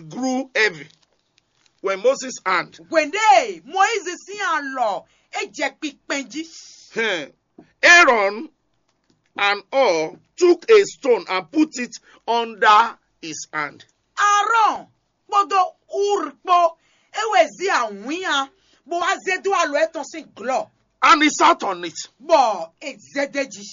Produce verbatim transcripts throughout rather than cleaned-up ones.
grew heavy. When Moses' hand, Hwěɖée Moyizi sín alɔ é jɛ kpikpɛn jí. eh, Aaron and Hur took a stone and put it under his hand. Aarɔn kpódó Ur kpó é wɛ zí awǐnnya bó wá zé dó alɔ étɔn sín glɔ́, And he sat on it. bɔ é zé d'é jí.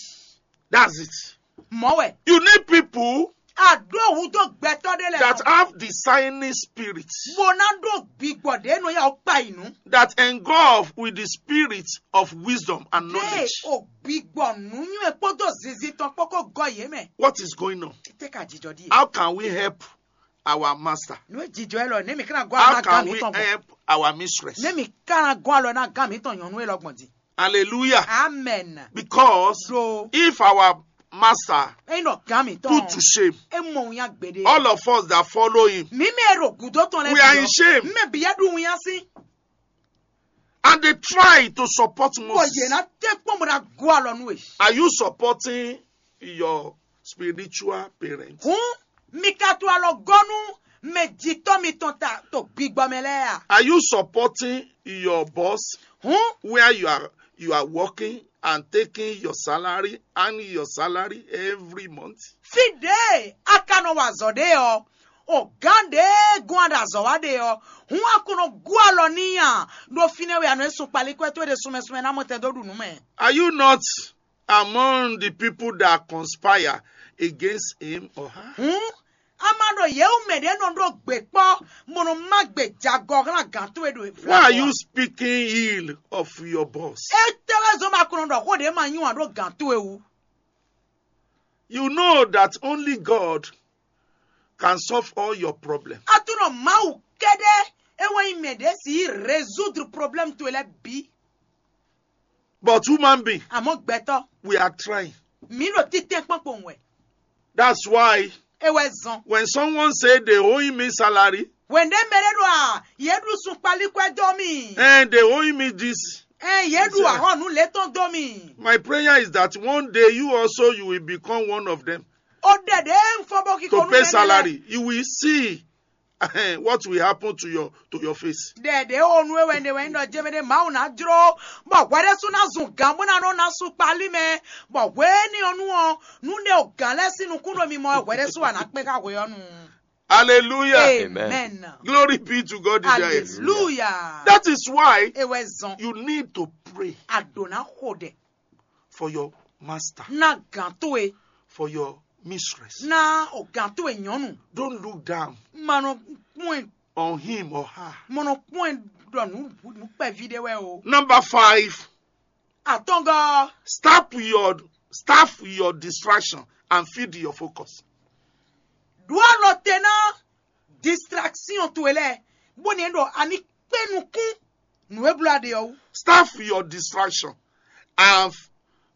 That's it. Mɔ̌ wɛ You need people a ɖó hudó gbɛtɔ́ ɖé lɛ́ɛ that nɔ, have discerning spirits, bó ná ɖó gbigbɔ ɖě nɔ ya ó kpa yi nǔ. that engulf with the spirit of wisdom and Ɖé knowledge. o gbigbɔ nǔnywɛ́ kpódó zinzin tɔn kpó kó gɔ́ yě mɛ. What is going on? Títí ka jijɔ ɖíe. How can we help our master? Nú jijɔ ɛ lɔ, nɛ́ mi ka ná gɔ́ How alɔ ná gán can we mǐtɔn gbɔn? Help our mistress? Nɛ́ mi ka ná gɔ́ alɔ ná gán mǐtɔn nyɔ̌nu élɔ́ gbɔn din? Hallelujah. Amen. Because Ɖo if our master é nɔ gán mǐtɔn. Put to shame É mɔ wíyá gbeɖé. All of us that follow him, Mǐ mɛ e ɖo gǔdo tɔn lɛ́ɛ. We are in shame. Mɛ bǐ yɛ ɖu wíyá sín. And they try to support Bɔ Moses. Yě ná tɛ́ kpɔ́n bó ná gɔ́ alɔ nú we. Are you supporting your spiritual parents? Hǔn mi ka to alɔ gɔ́ nú mɛ jitɔ́ mitɔn ta to gbigbɔ mɛ lɛ́ɛ a? Are you supporting your boss Hǔn where you are you are working and taking your salary and your salary every month? Fí ɖě a ka nɔ wa azɔ̌ ɖe ɔ́, o gǎn ɖě gɔ́n a ɖo azɔ̌ wa ɖe ɔ́, hǔn a ko nɔ gú alɔ n'i a? Ɖo fínɛ́ wɛ a nɔ e sun kpalikɔ́ towe ɖe sunmɛ sunmɛ ná mɔ tɛn dó ɖu nǔ mɛ. Are you not among the people that conspire against him or her? Hǔn a ma ɖo yě wú mɛ ɖě nɔ ɖó gbě kpɔ́, bó nɔ má gbè jagɔ hlán gǎn towe ɖo Why are you speaking ill of your boss? Étɛ́ wɛ zɔ́n ma ko nɔ ɖɔ xó ɖě ma nyí wǎn ɖó gǎn towe wú? You know that only God can solve all your problems. A tunɔ Mawu kɛ́ɖɛ́ é wɛ nyí mɛ ɖě si yí résoudre problème towe lɛ́ɛ bǐ. But human being, Àmọ́ gbɛtɔ́, we are trying. Mǐ ɖo títɛn kpɔ́n kpowun wɛ. That's why É wɛ zɔn. When someone say they owe me salary, Wěndé mɛ ɖé ɖo a yě ɖu sun kpalíkɔ ɛ dó mì. And they owe me this. Ɛ yě ɖu Yes, sir. Ahɔnu létɔn dó mì. My prayer is that one day you also you will become one of them Ó ɖɛ ɖě ń fɔ bó kíkó to nú pay mɛ lɛ́ɛ. Salary. You will see what will happen to your to your face. Ɖɛ ɖě o nú ewɛ ɖe wɛ ń ɖɔ jɛmɛ ɖé Mawu ná jló bɔ hwɛ ɖé sú ná zun gǎn bó ná nɔ ná sú kpalí mɛ bɔ hwɛ ní ɔ́ nú ɔ́ nú ɖé o gǎn lɛ́ɛ sín nukún ɖo mi mɔ hwɛ ɖé sú wà ná kpé ká hwɛ ɔ́ nu. Hallelujah. Amen. Glory be to God in the highest. Hallelujah. That is why Ewɛ zɔn you need to pray a ɖǒ ná xo ɖɛ for your master, ná gǎn towe for your mistress. ná o gǎn towe nyɔ́nu Don't look down ma nɔ kpɔn ɛ on him or her. mo nɔ kpɔn ɛ ɖɔ nú nú kpɛví ɖé wɛ o. Number five, Atɔngɔ stop your stop your distraction and feed your focus. ɖó alɔ te ná distraction towe lɛ bó ni ɖɔ ani kpé nukún nǔ e bló aɖe ɔ́ wú. Stop your distraction and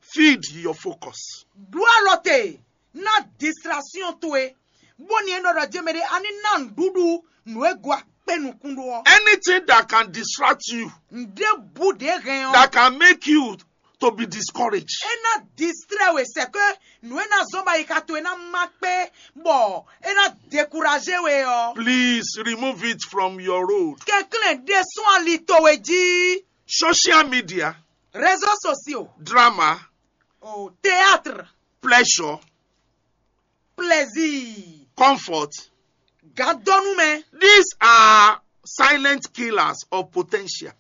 feed your focus. Ɖó alɔ te ná distraction towe bó ni ɖɔ ɖɔ jɛmɛ ɖé ani ná nǔɖuɖu nǔ e gɔ́ akpé nukún ɖó ɔ́. Anything that can distract you, Ǹɖé bú ɖě hɛn ɔ́. That can make you to be discouraged. É ná distrɛ we sɛ ke nǔ e ná zɔ́n ba yi ka towe ná má kpé bɔ é ná découragé we ɔ́. Please remove it from your road. Kɛnklɛ́n ɖésú ali towe jí. Social media, Réseaux sociaux, drama, o théâtre, pleasure, plaisir, comfort, gǎndɔ́númɛ. These are silent killers of potential.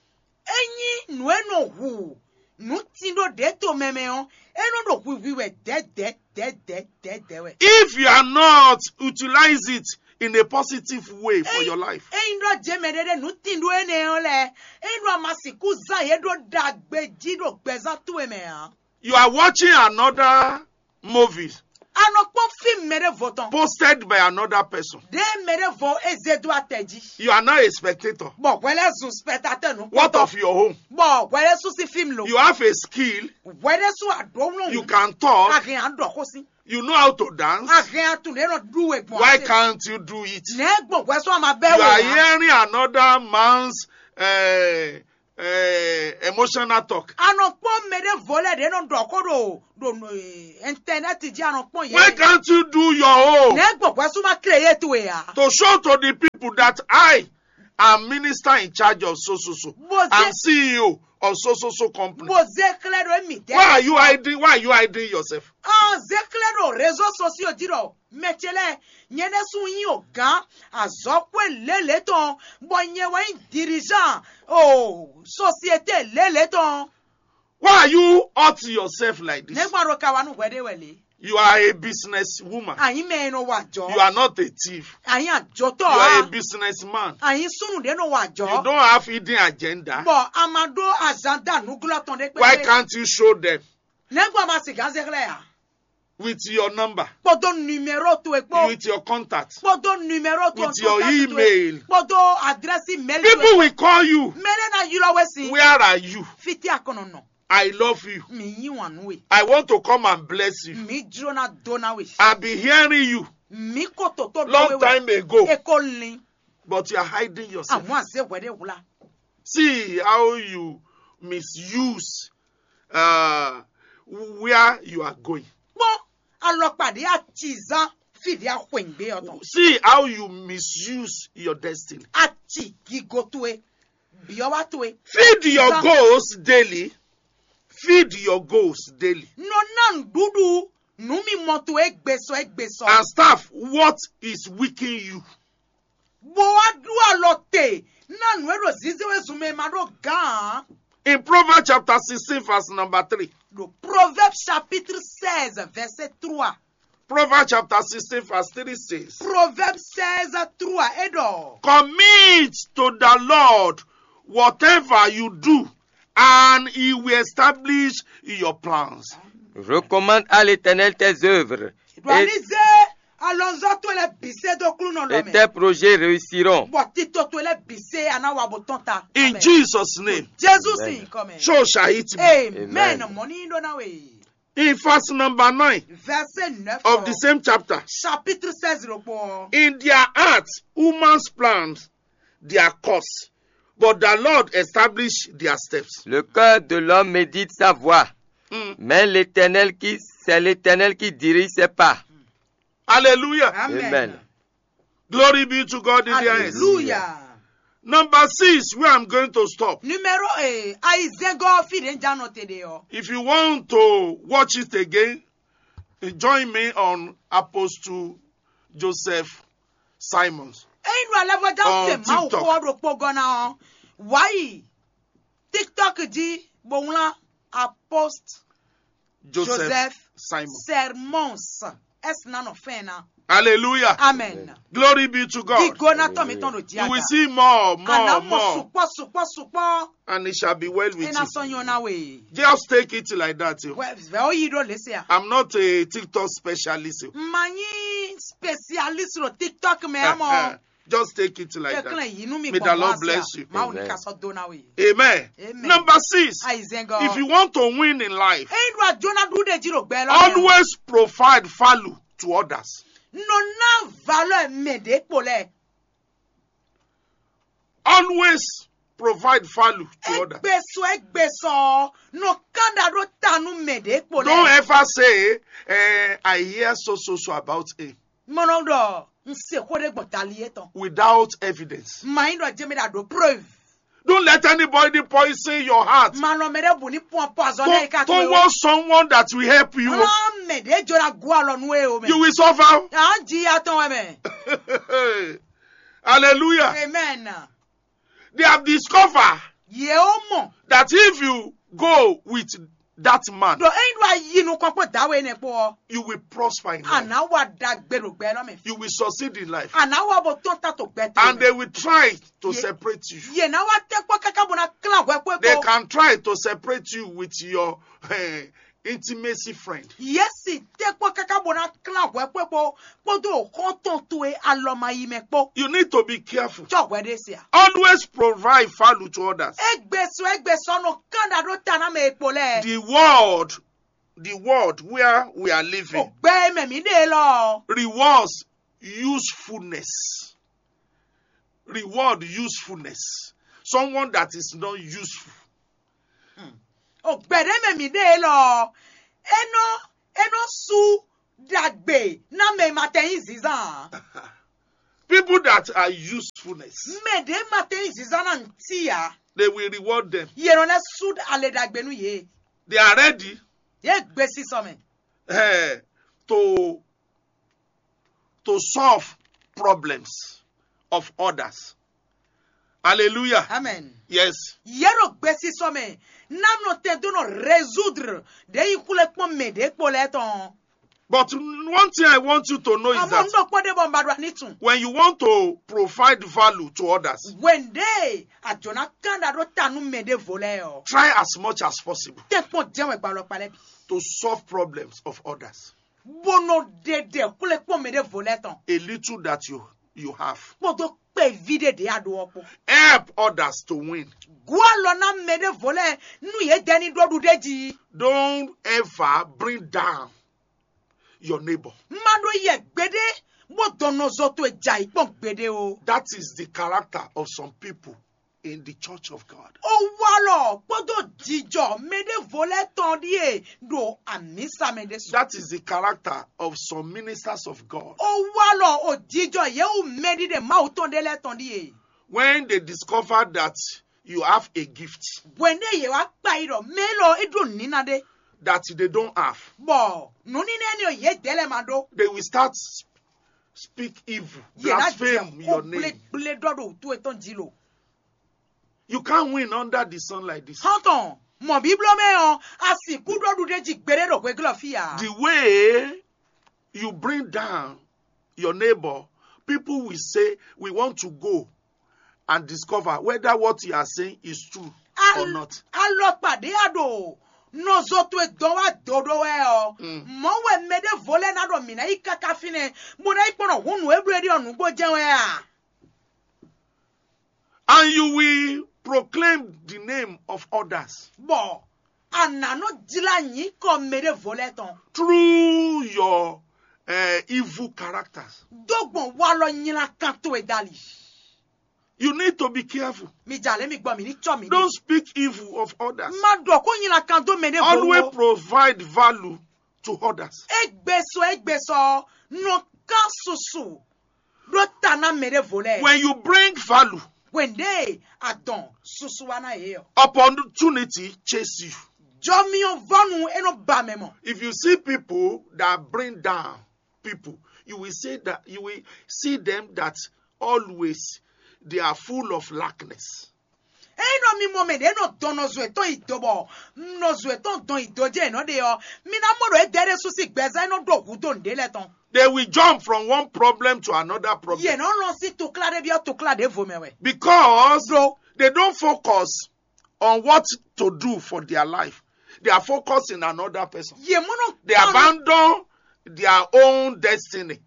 Ényí nǔ e nɔ hu nǔ tin ɖó ɖě to mɛ mɛ ɔ́, é nɔ ɖo hwihwi wɛ dɛ̌dɛ̌dɛ̌dɛ̌dɛ̌ wɛ. If you are not utilize it in a positive way for your life, Ényí ɖɔ jɛ mɛ ɖé ɖé nǔ tin ɖó énɛ́ ɔ́ lɛ́ɛ, ényí ɖɔ a ma sixú zán yě ɖó ɖagbe jí ɖo gbɛzán towe mɛ ǎ. You are watching another movie A nɔ kpɔ́n fíìmù mɛ ɖěvo tɔn. Posted by another person. Ɖé mɛ ɖěvo é zé dó atɛ jí. You are now a spectator. Bɔ hwɛ lɛ́ zun spectateur nú What of your home? Bɔ hwɛ lɛ́ sú sí fíìmù lo. You have a skill. Hwɛ lɛ́ sú aɖǒ wlɔ́n. You can talk. A hɛn aɖɔ xó sí. You know how to dance. A hɛn atun ɖé nɔ ɖu we gbɔn. Why can't you do it? Nɛ gbɔn hwɛ sɔ ma bɛ You are wɛ. Hearing another man's uh, uh, emotional talk. A nɔ kpɔ́n mɛ ɖěvo lɛ́ɛ ɖě nɔ ɖɔ xó ɖo ɖo internet jí, a nɔ kpɔ́n yě. Why can't you do your own? Nɛ̌ gbɔn hwɛsú ma kle yé towe ǎ? To show to the people that I am minister in charge of so so so. Bó zé I'm C E O of so so so company. Bó zé xlɛ́ ɖo émí dɛ́. Why are you hiding? Why are you hiding yourself? Ɔn zé xlɛ́ ɖo réseau sociaux jí ɖɔ mɛ ce lɛ́ɛ nyɛ ɖésú nyí o gǎn azɔ̌xwé lělě tɔn bɔ nyɛ wɛ nyí dirijan o société lělě tɔn. Why are you hurting yourself like this? Nɛgbà ɖo ka wa nú hwɛ ɖé wɛ lě. You are a business woman. Àyín mɛ e nɔ wa jɔ. You are not a thief. Àyín àjọtɔ. You are a business man. Àyín súnù ɖé nɔ wa jɔ. You don't have hidden agenda. Bɔ a ma ɖó azanda nǔglɔ́ tɔn ɖé pé. Why can't you show them? Nɛgbà ma sì gán zé xlɛ́ ǎ. With your number. Kpódó numéro towe kpó. With your contact. Kpódó numéro towe. With your email. Kpódó adrɛsi mail towe. People will call you. Mɛɖé ná ylɔ́ we sin. Where are you? Fítí akɔnɔ nɔ. I love you. Mi yí wǎn nú we. I want to come and bless you. Mi jló ná dó ná we. I be hearing you. Mi kó tòtó dó we. Long time ago. E kó lin. But you are hiding yourself. Àmọ́ àzé hwɛɖé wla. See how you misuse uh, where you are going. Kpɔ́n alɔkpa ɖě a ci zán fí ɖě a xwɛ̌ngbe ɔ́ tɔn. See how you misuse your destiny. A ci gigo towe, byɔ́wá towe. Feed your goals daily. Feed your goals daily. Nɔ ná nǔɖuɖu nǔ mimɔ towe égbé sɔ égbé sɔ. And staff, what is weakening you? Bó wá ɖú alɔ te ná nǔ e ɖo zizé wezun mɛ ma ɖó gǎn ǎ. In Proverbs chapter sixteen, verse number three. Ɖo Proverbes chapitre seize verset trois. Proverbs chapter sixteen, verse three says, Proverbes seize trois é ɖɔ. Commit to the Lord whatever you do, and he will establish your plans. Recommande à l'Éternel tes œuvres. Ɖo ali zé alɔnzɔ́ towe lɛ́ɛ bǐ sɛ́ dó Aklúnɔ lɔ mɛ. Et tes projets réussiront. Bɔ tito towe lɛ́ bǐ sɛ́ a ná wa bó tɔ́n ta. In Jesus' name. Jesu sín nyǐkɔ mɛ. Jesu sín nyǐkɔ mɛ. Show shahit me. Amen. Mɔ ní ɖó ná we. In verse number nine. Verset neuf. Of the same chapter. Chapitre seize ló kpɔ́n. In their hearts, humans planned their course, but the Lord established their steps. Le cœur de l'homme médite sa voie, mm. mais l'Éternel qui c'est l'Éternel qui dirige ses pas. Hallelujah. Amen. Amen. Glory be to God in the highest. Hallelujah. Number six, where I'm going to stop. Numéro eh, aizengɔ fi ɖe jano te ɖe ɔ. If you want to watch it again, join me on Apostle Joseph Simons. Eyi nu alɛ bɔ da se ma wo kpɔ ɖo kpɔ gɔna ɔ. Why? TikTok jí bó wlán Apostle Joseph, Joseph Simon. Sermons. Ɛsina nɔ fɛn na. Hallelujah. Amen. Glory be to God. Gigo na tɔ mi tɔn do dia. You will see more, more, Ana mo more. Sukpɔ, sukpɔ, sukpɔ. And it shall be well with Ena you. Sɔ nyɔ na we. Just take it like that. Yo. Vɛ o yi do lese a. I'm not a TikTok specialist. Yo. Manyi specialist lo TikTok mɛ amɔ. Just take it like that. May the Lord bless you. Amen. Amen. Number six, if you want to win in life, always provide value to others. Always provide value to others. Don't ever say, eh, I hear so so so about him. Mɔnɔ ɖɔ n se xó ɖé gbɔn tali étɔn. Without evidence. Màá nyí ɖɔ jɛmɛ ɖa ɖo preuve. Don't let anybody poison your heart. Màá nɔ mɛ ɖé bù ní pɔn poison náà yìí ká tó. Towards someone that will help you. Ɔn mɛ ɖé jɔ la gún alɔ nú e o mɛ. You will suffer. À ń jí atán wɛ mɛ. Hallelujah. Amen. They have discovered. Yě ó mọ̀. That if you go with that man. Ɖo eyin ɖo ayi nukɔn kpó dawe nɛ kpó ɔ. You will prosper in life. Àná wa dagbe ɖo gbɛ lɔ mɛ. You will succeed in life. Àná wa bo tɔn ta to gbɛ to. And they will try to separate you. Yè ná wa tɛ kpɔ kaka bo na klan hwɛ kpó. They can try to separate you with your uh, intimacy friend. Yě si tɛ kpɔ kaka bo na klan hwɛ kpó kpó kpódó xɔ́ntɔn towe alɔmayimɛ kpó. You need to be careful. Tsɔ hwɛ ɖe se a. Always provide value to others. Egbe sɔ egbe sɔ nɔ kán ɖa ɖó ta ná mɛ e kpo lɛ. The world, the world where we are living. O gbɛ mɛ mi ɖe lɔ. Rewards usefulness. Reward usefulness. Someone that is not useful. O gbɛ̌ɖé mɛ mǐ ɖe élɔ́ ɔ́, é nɔ é nɔ sú ɖagbe ná mɛ e ma tɛ nyí zǐnzán ǎ. People that are usefulness, Mɛ ɖě ma tɛ nyí zǐnzán ná ntí ǎ. They will reward them. Yě nɔ lɛ́ sú ale ɖagbe nú yě. They are ready Yě gbe sísɔ mɛ. eh, to to solve problems of others. Hallelujah. Amen. Yes. Yě ɖo gbe sísɔ mɛ ná nɔ tɛn dó nɔ résoudre ɖě yi xwlé kpɔ́n mɛ ɖě kpo lɛ́ɛ tɔn. But one thing I want you to know is Àmọ́ that un ɖɔ kpɔ́ ɖé bɔ un ba ɖo ani tun. When you want to provide value to others, Wěndé àjọ ná kán ɖa ɖó ta nú mɛ ɖěvo lɛ́ɛ ɔ́. Try as much as possible Tɛ́nkpɔ́n jɛ́n wɛ gbalɔ kpalɛ bǐ. To solve problems of others. Bó nɔ ɖe ɖe xwlé kpɔ́n mɛ ɖěvo lɛ́ɛ tɔn. A little that you you have. Kpódó kpɛví ɖé ɖě a ɖó ɔ́ kpó. Help others to win. Gǔ alɔ ná mɛ ɖěvo lɛ́ɛ nú yě dɛ ní ɖó ɖuɖéji. Don't ever bring down your neighbor. Má ɖó yɛ gbeɖé bó dɔn nɔzo towe jɛ ayǐ kpɔn gbeɖé o. That is the character of some people in the church of God. Ó wá lɔ kpódó jijɔ mɛ ɖěvo lɛ́ɛ tɔn ɖíe ɖo amǐsa mɛ ɖésú. That is the character of some ministers of God. Ó wá lɔ o jijɔ yě wú mɛ ɖiɖe Mawu tɔn ɖé lɛ́ɛ tɔn ɖíe. When they discover that you have a gift Hwɛ̌ndé yě wá kpa yi ɖɔ mɛ élɔ́ é ɖó nǐna ɖé, that they don't have, bɔ nǔníná énɛ́ ɔ́ yě dɛ́ lɛ́ɛ ma ɖó. They will start speak evil, Yě ná blaspheme jɛ your xó name. Gblégblé ɖɔ ɖo wǔtu etɔn jí lo. You can't win under the sun like this. Xɔ́ntɔn, mɔ bíbló mɛ ɔ́, a sixú ɖó ɖuɖéji gbeɖé ɖo hweglɔ́ fí ǎ. The way you bring down your neighbor, people will say, "We want to go and discover whether what you are saying is true or not." Alɔkpa ɖé a ɖo nɔzo towe dɔn wá do ɖó wɛ ɔ́, Mm. mɔ̌ wɛ mɛ ɖěvo lɛ́ɛ ná ɖɔ mǐ ná yi káká fínɛ́, bó ná yi kpɔ́n ɖɔ hǔn nǔ e bló é ɖi ɔ́ nǔgbó jɛ́n wɛ a? And you will proclaim the name of others Bɔ a nǎ nɔ jlá nyǐkɔ mɛ ɖěvo lɛ́ɛ tɔn through your uh, evil characters. dó gbɔn walɔ nylakan towe dali. You need to be careful. Mi jà lé mi gbɔ mi ní tsɔ mi. Don't speak evil of others. Ma ɖɔ kó nylakan dó mɛ ɖěvo Always ó. Provide value to others. Égbé sɔ égbé sɔ nɔ ká susu ɖó ta ná mɛ ɖěvo lɛ́ɛ. When you bring value, Hwɛ̌ndé adɔn susu wa ná yě ɔ. Opportunity chase you. Jɔmyɔvɔnu é nɔ ba mɛ mɔ. If you see people that bring down people, you will say that you will see them that always they are full of lackness. Eyi nɔ mi mɔ mɛ ɖě nɔ dɔn nɔzo etɔn yi do bɔ nɔzo etɔn dɔn yi do jɛ nɔ ɖe ɔ, mi ná mɔ ɖo é dɛ ɖé sú sí gbɛzán é nɔ ɖo hǔ dó nǔɖé lɛ́ɛ tɔn. They will jump from one problem to another Yě problem nɔ lɔn sí tukla ɖé byɔ́ tukla ɖěvo mɛ wɛ. because Ɖo they don't focus on what to do for their life. They are focusing on another person. Yě mɔ nɔ They abandon their own destiny,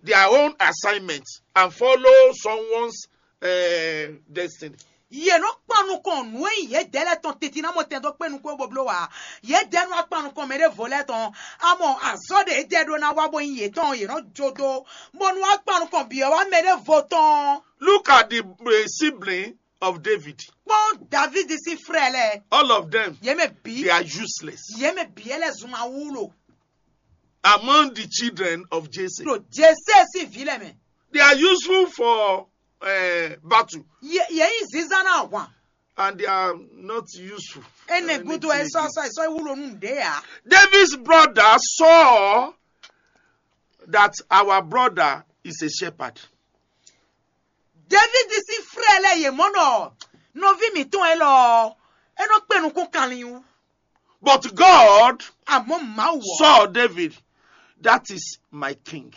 their own assignment, and follow someone's uh, destiny. Yě nɔ kpan nukɔn nǔ e nyí yě dɛ lɛ́ɛ tɔn titi ná mɔ tɛn dó kpé nukún bó bló wá. Yě dɛ nɔ kpan nukɔn mɛ ɖěvo lɛ́ɛ tɔn. Amɔ azɔ̌ ɖe é dɛ ɖó ná wá bó nyí yětɔn yě nɔ jó dó. Bó nú wá kpan nukɔn bǐ ɔ́ wá mɛ ɖěvo tɔn. Look at the uh, sibling of David. Kpɔ́n David sín frɛ lɛ́ɛ. All of them, Yě mɛ bǐ. They are useless. Yě mɛ bǐ é lɛ́ zun awúlo. Among the children of Jesse, Ɖo Jese sín vǐ lɛ́ɛ mɛ. They are useful for uh, battle. Yě yě nyí zínzán ná ahwan. And they are not useful. Énɛ́ gúdo ɛ sɔ sɔ ɛ sɔ wúlo nú ɖě ǎ. David's brother saw that our brother is a shepherd. David sín frɛ lɛ́ɛ yě mɔ nɔ nɔví mǐtɔn élɔ́ é nɔ kpé nukún kanlin wú. But God Àmọ́ Mawu ɔ́. Saw David, that is my king.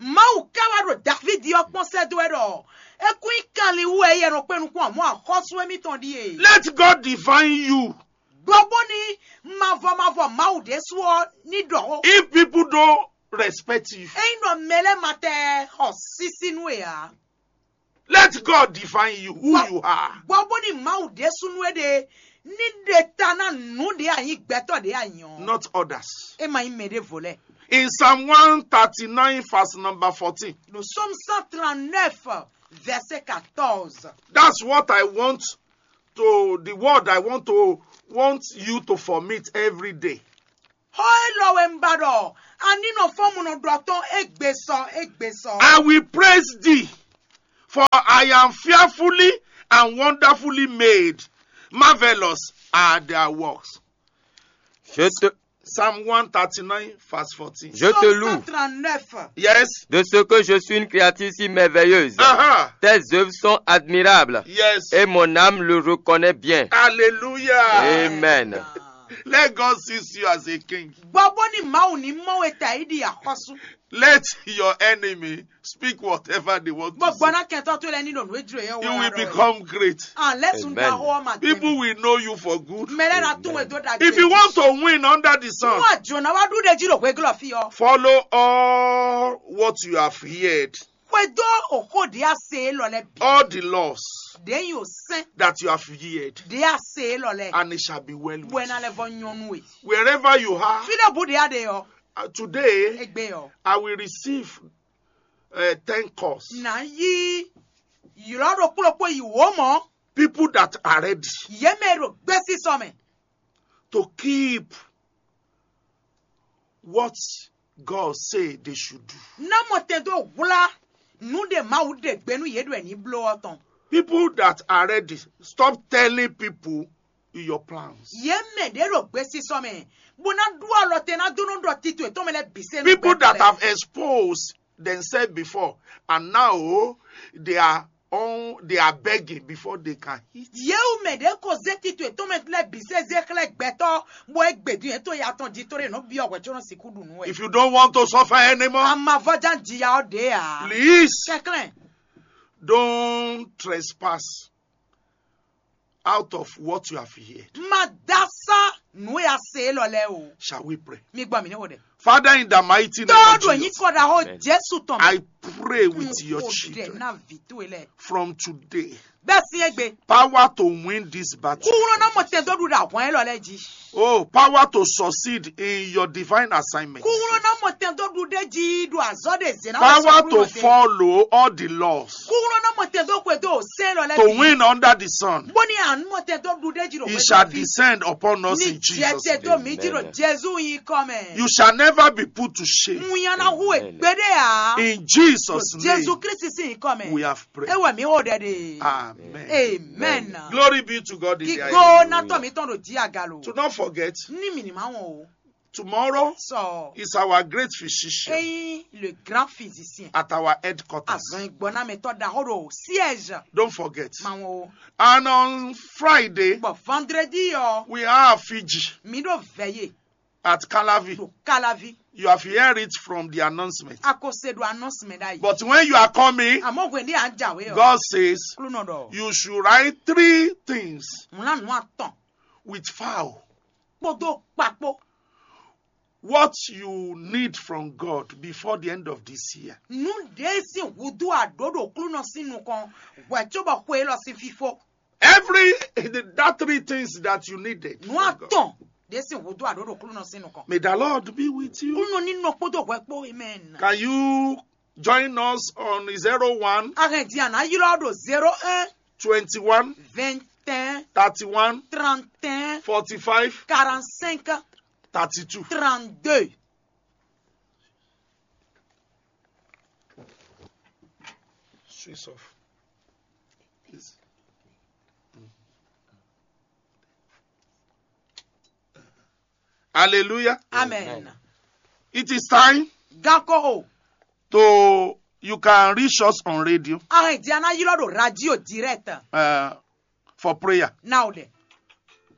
Mawu ká wá ɖo David ɔ́ kpɔ́n sɛ́ dó ɛ ɖɔ é kún nyí kanlin wú ɛ yɛ nɔ kpé nukún àmọ́ àxɔ́sú émítɔn ɖíe. Let God define you. Gbɔ bó ní mavɔ mavɔ Mawu ɖésú ɔ́ ní ɖɔ ó. If people don't respect you, Ényí nɔ mɛ lɛ́ɛ ma tɛ xɔ sísí nú e ǎ. Let God define you, who you are. Gbɔ bó ní Mawu ɖésúnú é ɖe ní ɖe ta ná nǔ ɖě a nyí gbɛtɔ́ ɖě a nyí ɔ́. Not others. É ma nyí mɛ ɖěvo lɛ́ɛ. In Psalm one thirty-nine, verse number fourteen, Ɖo Psaume cent trente-neuf Verset quatorze. That's what I want to, the word I want to, want you to formit every day. Xó élɔ́ wɛ un ba ɖɔ a ní nɔ fɔ́n munɔ ɖɔ tɔn égbé sɔ, égbé sɔ. I will praise thee, for I am fearfully and wonderfully made. Marvelous are thy works. Je te, Psalm one thirty-nine, verse fourteen. Je te loue. Psaume cent trente-neuf. Yes. De ce que je suis une créature si merveilleuse. Uh-huh. Tes œuvres sont admirables. Yes. Et mon âme le reconnaît bien. Hallelujah. Amen. Let God see you as a king. Gbɔ bó ní Mawu ní mɔ we ta yi ɖi axɔ́sú. Let your enemy speak whatever they want to say. Gbɔgbɔ ná kɛntɔ to lɛ ní ɖo nǔ e jló yɛ wɔ. You will become great. An lɛ sun da xɔ ma tɛnɛ. People will know you for good. Mɛ lɛ na tún we dó da. If you want to win under the sun, wọ́n àjò náà wá dúró de jí ɖo hwéglɔ fi ɔ. Follow all what you have heard. Xwedó òxó ɖě a se élɔ́ lɛ́ɛ bǐ. All the laws Ɖě nyi ò sɛn that you have heard, ɖě a se élɔ́ lɛ́ɛ. And it shall be well with you. Bɔ ɛ ná lɛ́ vɔ nyɔ́nú e. Wherever you are, Fí ɖé bǔ ɖě a ɖe ɔ. Uh, today, Égbé ɔ. I will receive uh, ten calls. Nǎ yí ylɔ́ ɖokpó ɖokpó yi wǒ mɔ̌. People that are ready. Yě mɛ e ɖo gbésísɔ mɛ. To keep what God say they should do. Ná mɔ tɛn dó hwlá nǔ ɖe Mawu ɖe gbe nú yě ɖɔ è ní bló ɔ́ tɔn. People that are ready, stop telling people your plans. Yě mɛ ɖě ɖo gbesisɔ mɛ, bó ná ɖú alɔ te ná dó nɔ ɖɔ tito yětɔn mɛ lɛ́ɛ bǐ se nú People that have exposed themselves before and now they are on, they are begging before they can eat. Yě wú mɛ ɖě ko zé tito yětɔn mɛ lɛ́ɛ bǐ se zé xlɛ́ gbɛtɔ́, bó é gbědun yětɔn ya tɔn jí tó ɖé nɔ byɔ́ hwɛ có nɔ sixú ɖu nǔ wɛ. If you don't want to suffer anymore, Amavɔ́ján jiya ɔ́ ɖě ǎ. Please, Kɛnklɛ́n. Don't trespass out of what you have heard. Ma dá sá nǔ e a se élɔ́ lɛ́ɛ o. Shall we pray? Mi gbɔ mǐ ní xo ɖɛ. Father, in the mighty name of Jesus, Tɔ́ ɖo nyí kɔ ɖaxó Jésù tɔn mɛ. I pray with your children. Ná vǐ towe lɛ́ɛ. From today, Bɛ́ sín égbé. Power to win this battle. Kúrú ná mɔ tɛn dó ɖu ɖo ahwan élɔ́ lɛ́ɛ jí. Oh, power to succeed in your divine assignment. Kúrú ná mɔ tɛn dó ɖu ɖé jí ɖo azɔ́ ɖe zě ná Power to follow all the laws. Kúrú ná mɔ tɛn dó xwe dó sɛn lɔ lɛ To win under the sun. Bó ní à ń mɔ tɛn dó ɖu ɖé jí ɖo It shall descend upon us in Jesus' name. Ní jẹ tɛ dó mi jí ɖo Jésù yín kɔ mɛ. You shall never be put to shame. Mu yan na hu e gbéɖé a. In Jesus' name, Jésù Kristi sín yín kɔ mɛ. We have prayed. Ewɔ mi wò ɖɛ de. Amen. Amen. Glory be to God in the highest. Kíkó ná tɔ mi tɔn ɖo jí agalo. To not forget, Ní mi ní ma wɔn o. Tomorrow Sɔ. Is our great physician Eyin le grand physicien. At our headquarters. Azɔn gbɔnámɛtɔ ɖaxó ɖo siège. Don't forget. Ma wɔn o. And on Friday, Bɔ vendredi ɔ. We have Fiji. Mi ɖo veillée. At Calavi. Ɖo Calavi. You have heard it from the announcement. A ko se ɖo announcement ɖ'ayǐ. But when you are coming, Àmọ́ hwenu a ń jàwé ɔ. God says, Klúnɔ ɖɔ. You should write three things. Mlá nù atɔn. With fowl. Kpódó kpakpó. What you need from God before the end of this year. Nǔ ɖě sín húdú àɖǒ ɖo Klúnɔ sín nukɔn hwɛ̌ cóbɔ xwe élɔ́ sín fífó. Every that three things that you needed. Nǔ atɔn ɖě sín húdú àɖǒ ɖo Klúnɔ sín nukɔn. May the Lord be with you. Klúnɔ ní nɔ kpódó hwɛ kpó. Amen. Can you join us on zero one? Arrêt dia na ylɔ ɖo zéro un, twenty-one, vingt et un, thirty-one, trente et un, forty-five, quarante-cinq, thirty-two, trente-deux. Switch off. Please. Hallelujah. Amen. It is time Gakoro. To you can reach us on radio. Arrêt dia na ylɔ ɖo radio direct. Uh, for prayer. Now de.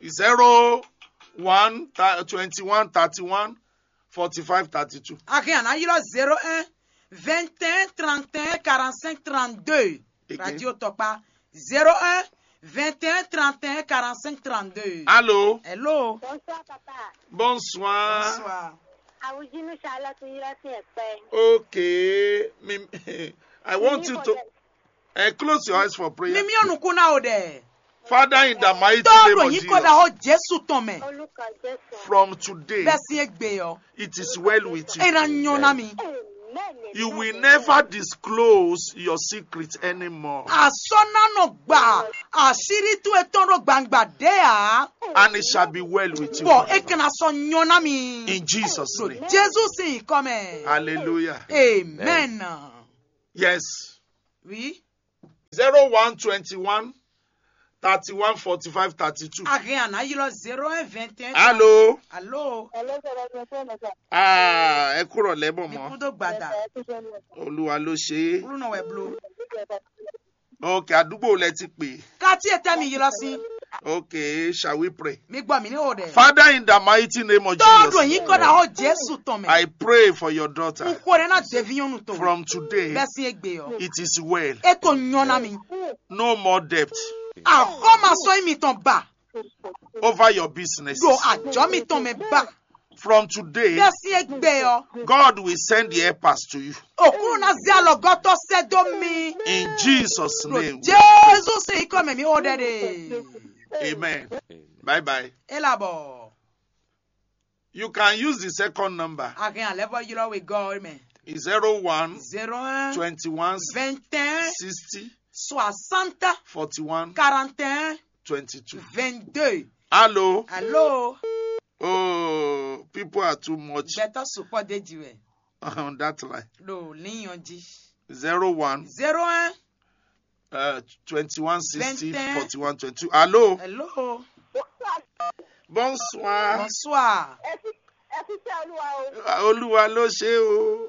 Zero one twenty-one thirty-one forty-five thirty-two. Arrêt ana ylɔ zéro un, vingt et un, trente et un, quarante-cinq, trente-deux. Again. Radio Tokpa. Zéro un, vingt et un, trente et un, quarante-cinq, trente-deux. Allô? Hello. Bonsoir, papa. Bonsoir. Bonsoir. Awujinu Charlotte Yirasi Ekpe. Okay. Mi- I want you to uh, close your eyes for prayer. Mimi onukun na o dɛ. Father, in the mighty name of Jesus, Tɔɔ ɖo yín kɔ da xɔ Jésù tɔn mɛ. From today, Bɛsi egbe yɔ. It is well with you. Ena nyɔ na mi. You will never disclose your secret anymore. A sɔ́ ná nɔ gba àṣírí towe tɔn ɖó gbangba ɖě ǎ. And it shall be well with you. Bɔ é kana sɔ́ nyɔ́ ná mi. In Jesus' name. Jezu sín nyǐkɔ mɛ. Hallelujah. Amen. Yes. Oui. Zero one twenty one thirty one forty five thirty two. A hɛn a nǎ ylɔ́ zéro un vingt et un. Allô. Allô. Ah, ẹ kúrò lẹ́bọ̀ mọ́. Mi kú dó gbada. Olúwa ló ṣe é. Kúrú nɔ wɛ blo. Ok, àdúgbò lẹ ti pè. Káti e tẹ́ mi ylɔ́ sí. Ok, shall we pray? Mi gbọ́ mi ní o dɛ. Father, in the mighty name of Jesus, tɔɔdun yín kɔ na o Jésù tɔn mɛ. I pray for your daughter. N kò rẹ na devi nyɔnu to. From today, bẹ́ẹ̀ sí egbe yɔ. It is well. E ko nyɔna mi. No more debt. Àkọ́másọ mi tɔn ba. Over your business. Do àjọ mi tɔn mɛ ba. From today, bẹ́ẹ̀ sí egbe yɔ. God will send the helpers to you. Òkúrú náà zé alɔgɔtɔ sɛ dó mi. In Jesus' name. Jésù sí ikɔ mɛ mi ó dɛ de. Amen. Bye bye. E labɔ. You can use the second number. A hɛn alɛ vɔ ylɔ we gɔ mɛ. Zero one, zero un, twenty one, vingt et un, sixty, soixante, forty one, quarante et un, twenty two, vingt deux. Hello. Hello. Oh, people are too much. Gbɛtɔ sukpɔ de ji wɛ. On that line. Ɖo linyɔn ji. Zero one, zero un, uh, twenty one sixty, vingt et un, forty one twenty two. Hello. Hello. Bonsoir. Bonsoir. Ẹ fi ẹ fi tẹ Olúwa o. Olúwa ló ṣe o.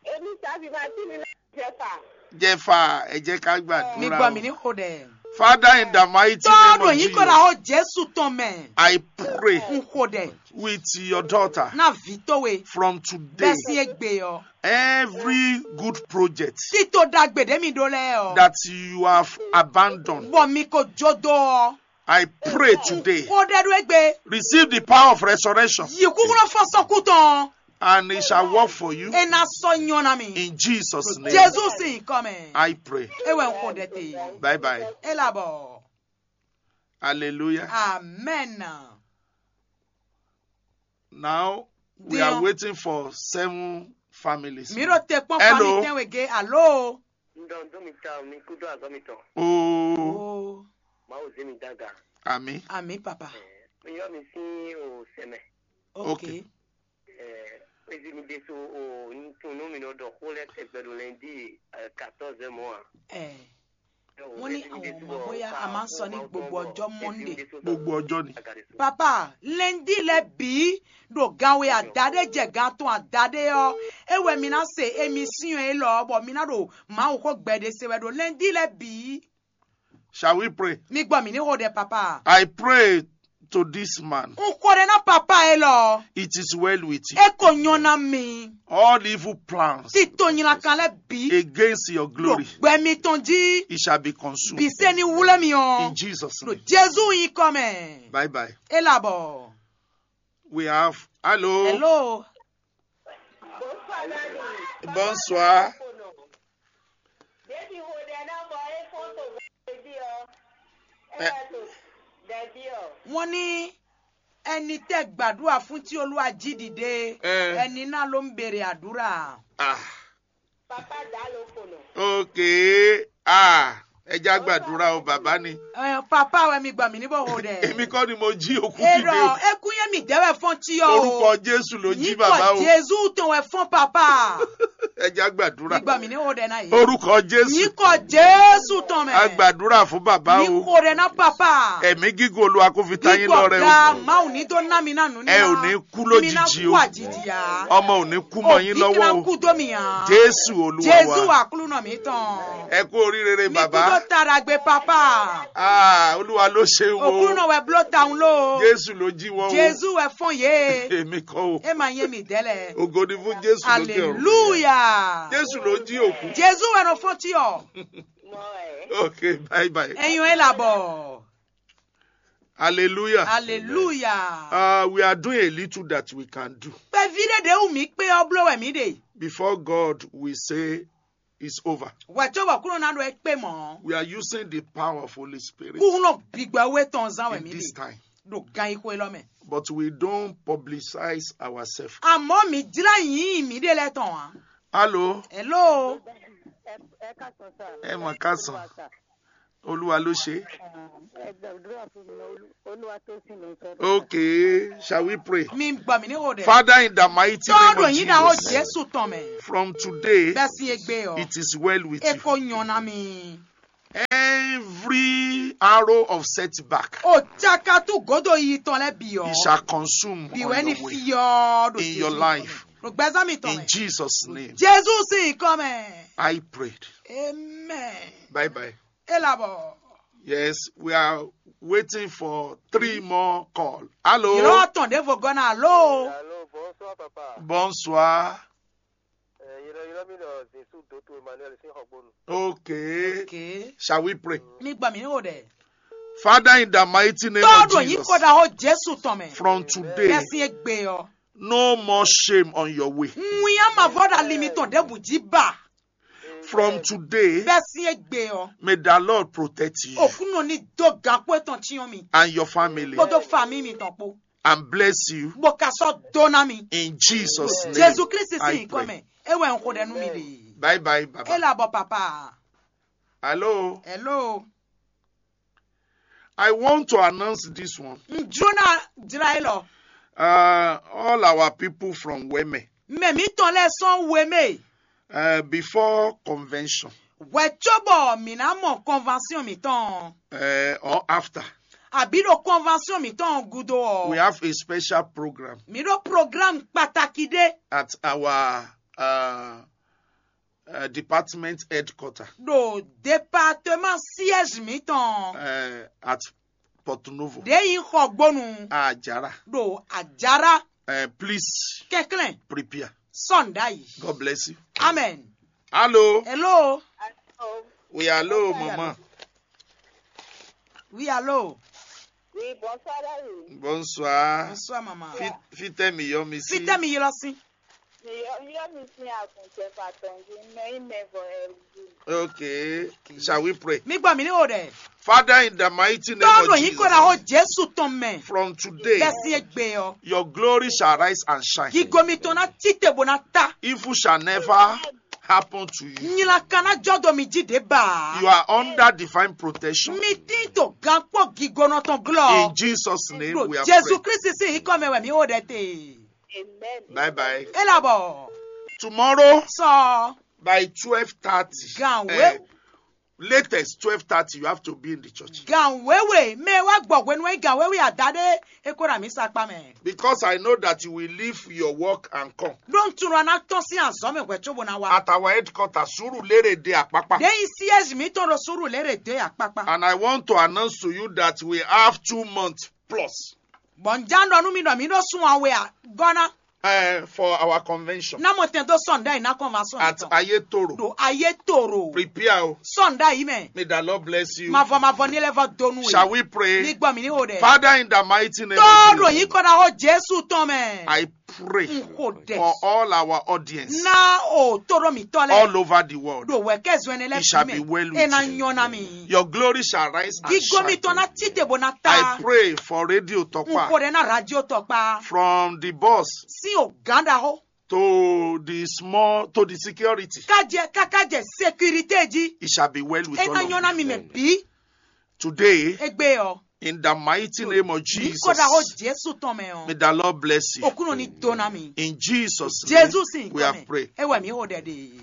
Èmi tàbí máa tí mi náà jẹ fà. Jẹ fà, ẹ jẹ́ ká gbàdúrà. Mi gbọ́ mi ní kò dẹ̀. Father, in the mighty name of Jesus, tɔɔdun yìí kò dà ó Jésù tán mẹ́. I pray, n kò dẹ̀, with your daughter, náà ví tó we, from today, bẹ́ẹ̀ sí egbe yọ. Every good project, títò dàgbèdè mi dó lẹ́ ọ, that you have abandoned, bọ̀ mi kò jó dó ọ. I pray today. Kó dẹ́rú égbé. Receive the power of resurrection. Yìí kúkúrú fọ́sọ́kú tán. And it shall work for you. E na sɔ nyɔna mi. In Jesus' name. Jésù sì ń kọ́ mẹ́. I pray. E wẹ̀ ń kó dẹ́ te. Bye bye. E labɔ. Hallelujah. Amen. Now we are waiting for seven families. Mi ɖo te kpɔn famille tɛnwe ge alo. Ndɔn dó mi ta mi kú dó azɔ mi tɔn. Oh. Oh. Mawu zé mi daga. Ami. Ami papa. Mi yɔ mi sí o sɛmɛ. Ok. Ezi mi ɖésú o ntun nú mi nɔ ɖɔ xó lɛ́ tɛgbɛ ɖo lɛndí quatorze mɔ a. Ɛ. Wọ́n ní àwọn ọmọ bóyá a máa ń sọ ní gbogbo ọjọ́ Monday. Gbogbo ọjọ́ ni. Papa, lɛndí lɛ bǐ ɖo gan we adaɖé jɛ gan tɔn adaɖé ɔ́, é wɛ mi ná se émission élɔ́ bɔ mi ná ɖo Mawu xó gbɛɖe se wɛ ɖo lɛndí lɛ bǐ. Shall we pray? Mi gbɔ mi ní xo ɖɛ papa. I pray to this man. N xo ɖɛ ná papa élɔ́. It is well with you. E ko nyɔ ná mi. All evil plans. Tito nylakan lɛ bǐ. Against your glory. Gbɛ mi tɔn jí. It shall be consumed. Bǐ se ní wlé mi ɔ́. In Jesus' name. Jezu yín kɔ mɛ. Bye bye. E labɔ. We have hello. Hello. Bonsoir. Wọ́n ní ẹni tẹ́ gbàdúrà fún tí Olúwa jí dìde, ẹni náà ló ń béèrè àdúrà. Ah. Ok. Ah, ẹ já gbàdúrà o, bàbá ni. Ẹ, papa wɛ mi gbà mí ní bò ho dɛ. Èmi kọ́ ni mo jí òkú dìde o. Èrò ẹkún yẹn mi dẹ́wẹ̀ fọ́n tí yọ o. Orúkọ Jésù ló jí bàbá o. Yíkọ̀ Jésù tó wẹ̀ fọ́n papa. Ẹ já gbàdúrà. Mi gbà mí ní ho dɛ náà yìí. Orúkọ Jésù. Yíkọ̀ Jésù tán mẹ́. A gbàdúrà fún bàbá o. Mi kò dẹ̀ ná papa. Ẹ̀mí gígùn Olúwa kó fi ta yín lọ́rẹ o. Yíkọ̀ ga máa ò ní tó ná mi náà nù ní. Ẹ ò ní kú lójijì o. Ọmọ ò ní kú mọ́ yín lọ́wọ́ o. Jésù Olúwa wa. Jésù àkúlùnà mi tán. Ẹ kú oríire bàbá. Mi kú tó tara gbé papa. Ah, Olúwa ló ṣe wo. Òkúlùnà wẹ̀ bló taun ló. Jésù ló jí wọn o. Jésù wẹ̀ fún yé. Èmi kọ́ o. Ẹ máa yé mi dẹ́lẹ̀. Ògo ni fún Jésù lókè ọ̀run. Hallelujah. Jésù ló jí òkú. Jésù wẹ̀ ló fún tí ọ. Okay, bye bye. Ẹ̀yin ẹ̀ làbọ̀. Hallelujah. Hallelujah. Uh, we are doing a little that we can do. Pé ví ɖé ɖé wù mí pé ɔ́ bló wɛ mí ɖe. Before God, we say it's over. Wɛ tó bɔ kúrò náà ɖo ẹ pé mọ́. We are using the power of Holy Spirit. Kúrò gbígbẹ́ wé tɔn zán wɛ mí ɖe. In this time. Ɖo gan yí xwé lɔ mɛ. But we don't publicize ourselves. Àmọ́ mi jlá yín mí ɖe lɛ tɔn á. Hello. Hello. Ẹ mọ̀ ká sàn. Olúwa ló ṣe. Ẹ gbàdúrà fún mi náà. Olúwa tó sì lọ sọ́dọ̀. Ok. Shall we pray? Mi gbà mí ní o dɛ. Father, in the mighty name Tɔɔdɔ of yín na o Jesus, Jésù tɔn mɛ. From today, Bɛsi egbe ɔ. It is well with E you. Ko nyɔna mi. Every arrow of setback, O cakatu godo yi tɔn lɛ bi ɔ. It shall consume Bi on wɛ ni your way. Fiyɔ do In your life. Do gbɛzan mi tɔn In mɛ. Jesus' name, Jésù sì kɔ mɛ. I prayed. Amen. Bye bye. E labɔ. Yes, we are waiting for three more calls. Hello. Yɔrɔ tɔn de vo gɔna alo. Alo, bonsoir papa. Bonsoir. Eh, yɔrɔ yɔrɔ mi lɔ Jesu Doto Emmanuel sin xɔgbonu. Okay. Ke. Shall we pray? Mi gbà mí ní o dɛ. Father, in the mighty name of Tɔɔdɔ yín Jesus, kɔ da o Jésù tɔn mɛ. From today, Bɛsi egbe ɔ. No more shame on your way. Ŋun ya ma vɔ da li mi tɔn de bu ji ba. From today, Bɛsi egbe ɔ. May the Lord protect you Òkúnnù ní dó gakpó tɔn tí yɔn mi. And your family. Kpódó fami mi tɔn kpó. And bless you Bó ka sɔ dó ná mi. In Jesus' name. Jésù Kristi I sì kọ́ pray. mẹ́. Ewé ń kó dẹnu mi lè. Bye bye, E Baba. là bọ̀ papa. Hello. Hello. I want to announce this one. Njúná jira e lɔ. Uh, all our people from Weme, Mɛ mi tɔn lɛ sɔn we mɛ. Uh, before convention, Wɛ cóbɔ mi ná mɔ convention mi tɔn. Uh, or after, Àbí ɖo convention mi tɔn gudo we ɔ. Have a special program Mi ɖo programme pàtàkì ɖé. At our uh, uh, department headquarter. Ɖo département siège mi tɔn. Uh, at Porto Novo. Ɖé yi xɔ gbónu. Ajara. Ɖo àjàrà. Uh, please. Kɛnklɛn. Prepare. Sɔnda yi. God bless you. Amen. Hello. Hello. We are hello, Mama. Oui, allô. Oui, bonsoir, Daddy. Bonsoir. Bonsoir, maman. Fit- Fitemi Yomisi. Fitemi Yomisi. Mi yɔ mi yɔ mi sin àgùntàn pàtó ju mẹ yín mẹ vɔ ẹ wú. Okay. Shall we pray? Mi gbọ́ mi ní o dɛ. Father, in the mighty name Tɔɔdɔ of yín kɔ na xɔ Jesus, Jésù tɔn mɛ. From today, Bɛsi egbe ɔ. Your glory shall rise and shine. Gigo mi tɔn na tite bo na ta. Evil shall never happen to you. Nyila kan na jɔ do mi ji de ba. You are under divine protection. Mi tin to gankpɔ gigonɔ tɔn glɔ. In Jesus' name, we are Jésù praying. Kristi sì yín kɔ mɛ wɛ mi o dɛ te. Amen. Bye bye. E là bọ̀. Tomorrow, Sɔ. By twelve thirty. Gan Eh, wé. Latest twelve thirty, you have to be in the church. Gan wéwe mɛ wá gbɔ hwenu wɛ gan wéwe àdá ɖé. E kó ra mi sa kpa mɛ. Because I know that you will leave your work and come. Ɖó n tunɔ na tɔn sín azɔ̌ mɛ hwɛ cóbó ná wá. At our headquarters, Surulere de Apapa. Ɖé yi siège mi tɔn ɖo Surulere de akpakpa. And I want to announce to you that we have two months plus. Bɔn n já ɖɔ nú mi ɖɔ mi ɖó sún awe a gɔ́ ná. Uh, for our convention. Ná mo tɛn dó sɔn ɖe yi ná convention At tɔn. Ayetoro. Ɖo ayé toro. Prepare o. Sɔn ɖe yi mɛ. May the Lord bless you. Mavɔ mavɔ ní lɛ vɔ donu. Shall we pray? Mi gbɔ mi ní o dɛ. Father, in the mighty name Tɔɔdɔ of yìí Jesus, kɔ na xɔ Jésù tɔn mɛ. I pray N kò dɛ. For all our audience. Ná o toro mi tɔ lɛ. All over the world. Ɖo wɛ kɛ zɔn ɛnɛ lɛ It shall fi be mɛ. well with E na you. Nyɔ na mi. Your glory shall rise and Gigo mi shine. tɔn na tite bo na I ta. Pray for Radio N kò Tokpa. Dɛ na radio tɔkpa. From the boss Sí o gán ɖaxó. To the small, to the security. Kájɛ kákájɛ sécurité jí. It shall be well with E all na of nyɔ na mi you. Mɛ bí. Today, Egbe ɔ. In the mighty name of Mi kó ɖaxó Jesus, Jésù tɔn mɛ may ɔ. the Lord bless you. Òkúnnù ní dona mi. In Jesus' Jésù name, sì we have kọ́ mɛ. Prayed. E wɛ mi ó dɛ de.